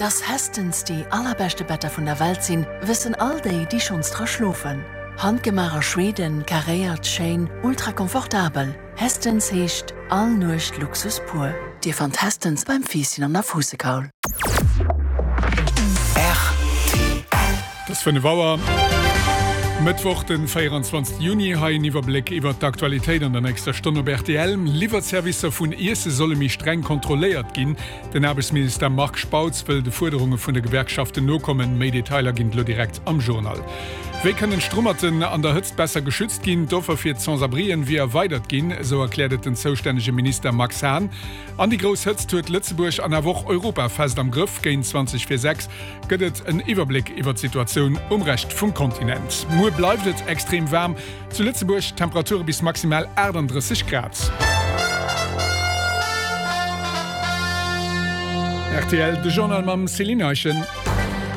Dass Hästens déi allerbeschte Better vun der Welt sinn, wëssen all déi, déi schonns dra schlofen. Handgemaach a Schweden, karéiert, schéin, ultra komfortabel. Hästens heescht all Nuecht Luxus pur. Dir fannt Hästens beim Fiisschen an der Fuussekaul. Et ass 5 Auer, Mëttwoch den 24 Juni. Hei en Iwwerbléck iwwert d'Aktualitéit an der nächster Stonn op rtl. Liwwerservicer vun Iesse solle méi streng kontrolléiert ginn. Den Aarbechtsminister Marc Spautz wëll de Fuerderunge vun de Gewerkschaften nokommen. Méi Detailer ginn et elo direkt am Journal. Wéi kënnen d'Strummerten an der Hëtzt besser geschützt ginn? D'Offer fir d'Sans-abrien wier erweidert ginn, esou erkläert et den zoustännege Minister Max Hahn. An déi grouss Hëtzt huet Lëtzebuerg an awer och Europa fest am Grëff. Géint 20 vir 6 gëtt et en Iwwerbléck iwwer d'Situatioun um Rescht vum Kontinent. Muer bleift et extrem waarm zu Lëtzebuerg, Temperature bis maximal 38 Grad. Rtl, De Journal mam Céline Eischen.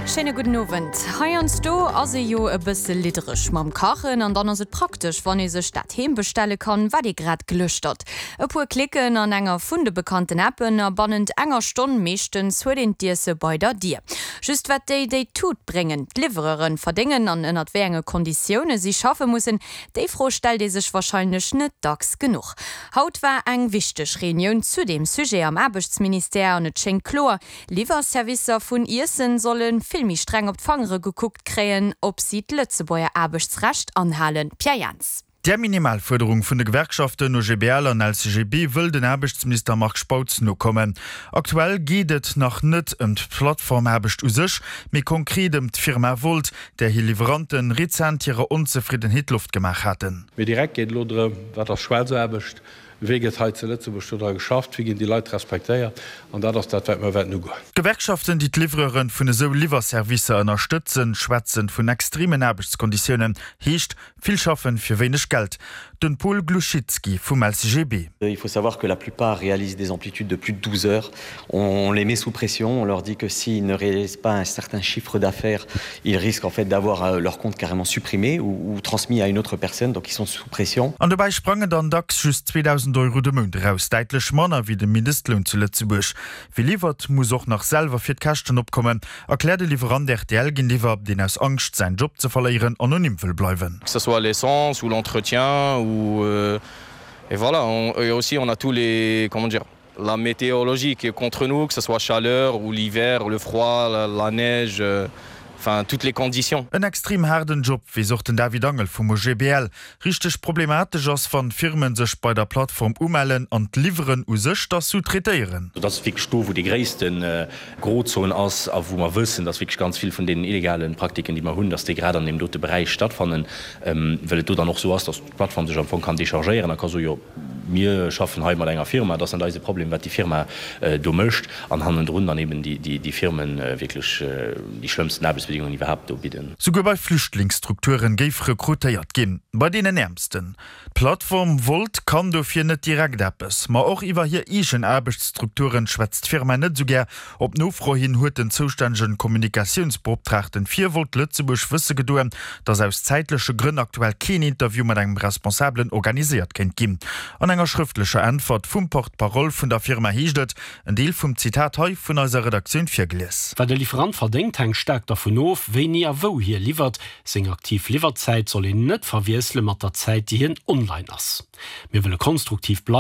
Schéine gudden Owend. Heiansdo ass ee jo e bësse liddereg mam Kachen an dann ass et praktesch, wann ee sech dat heem bestelle kann, wat ee grad glëschtert. E puer Klicken an enger vun de bekannten Appen a bannent enger Stonn meeschtens huet een d'Iesse bei der Dier. Just wat déi, déi d'Tut bréngen, d'Liwwereren, verdéngen an ënnert wéi enge Konditioune si schaffe mussen, déi Fro stellt ee sech warscheinlech net dacks genuch. Haut war eng wichteg Reunioun zu deem Sujet am Aarbechtsministère an et schéngt kloer, Liwwerservicer vun Iessen solle vill méi streng op d'Fangere gekuckt kréien, ob si d'Lëtzebuerger Aarbechtsrecht anhalen. Pierre Jans. Där Minimalfuerderung vun de Gewerkschaften OGBL an LCGB wëll den Aarbechtsminister Marc Spautz nokommen. Aktuell geet et nach net ëm d'Plattformaarbecht u sech, mee konkret ëm d'Firma Wolt, där hir Liwweranten rezent hirer Onzefriddenheet Loft gemaach haten. Mee direkt geet elo drëm, Wat ass Schwaarzaarbecht? Wéi gëtt hei zu Lëtzebuerg dodra geschafft? Wéi ginn déi Leit respektéiert? An dat ass dat, wat mer wäerten ugoen. D'Gewerkschaften, déi d'Livreuren vun esou Liwwerservicer ënnerstëtzen, schwätzen vun extremen Aarbechtskonditiounen. Heescht, vill schaffen fir wéineg Geld. Den Paul Glouchitski vum LCGB. Il faut savoir que la plupart réalisent des amplitudes de plus de 12 heures. On les met sous pression, on leur dit que s'ils ne réalisent pas un certain chiffre d'affaires, ils risquent en fait d'avoir leur compte carrément supprimé ou, ou transmis à une autre personne, donc ils sont sous pression. An dobäi sprangen dann dacks just 2.000 Euro de Mount eraus, däitlech manner wéi de Mindestloun zu Lëtzebuerg. Wie liwwert, muss och nach selwer fir d'Käschten opkommen, erkläert e Liwwerant rtl géintiwwer, deen aus Angscht, säin Job ze verléieren, anonym wëll bleiwen. Que ce soit l'essence ou l'entretien ou et voilà et aussi on a tous les comment dire la météorologie qui est contre nous, que ce soit chaleur ou l'hiver, le froid, la, la neige, euh, enfin toutes les conditions. En extrem haarden Job, weess och den David Angel vum OGBL. Richteg problematesch ass, wann Firmen sech bei der Plattform umellen an d'Liwweren u sech da sous-traitéieren. Dat ass wierklech do, wou déi gréisste Grozon ass a wou mer wëssen, dass wierklech ganz vill vun deenen illegale Praktiken, déi mer hunn, dass déi grad an deem dote Beräich stattfannen, well et do dann och esou ass, dass d'Plattform sech am Fong kann dechargéieren a ka soen, jo, Mir schaffen hei mat enger Firma, et ass net eise Problem, wat déi Firma do mécht, an hannendrun dann eben déi Firme wierklech déi schlëmmsten Aarbechtsbedingungen iwwerhaapt do bidden. Souguer bei Flüchtlingsstrukturen géif rekrutéiert ginn, bei deenen Äermsten. D'Plattform Wolt kann dofir net direkt eppes, ma och iwwer hir eegen Aarbechtsstrukturen schwätzt d'Firma net esou gär. Op Nofro hin huet den zoustännegen Kommunikatiounsbeoptraagten fir Volt Lëtzebuerg wësse gedoen, dass aus zäitleche Grënn aktuell keen Interview mat engem Responsabelen organiséiert kéint ginn. An enger schrëftlecher Äntwert vum Porte-parole vun der Firma heescht et, en Deel vum Zitat hei vun eiser Redaktioun virgelies. Wat e Liwwerant verdéngt, hänkt staark dervun of, wéini a wou hie liwwert. Seng aktiv Liwwerzäit soll een net verwiessele mat der Zäit, déi hien online ass. Mir wëlle konstruktiv bleiwen.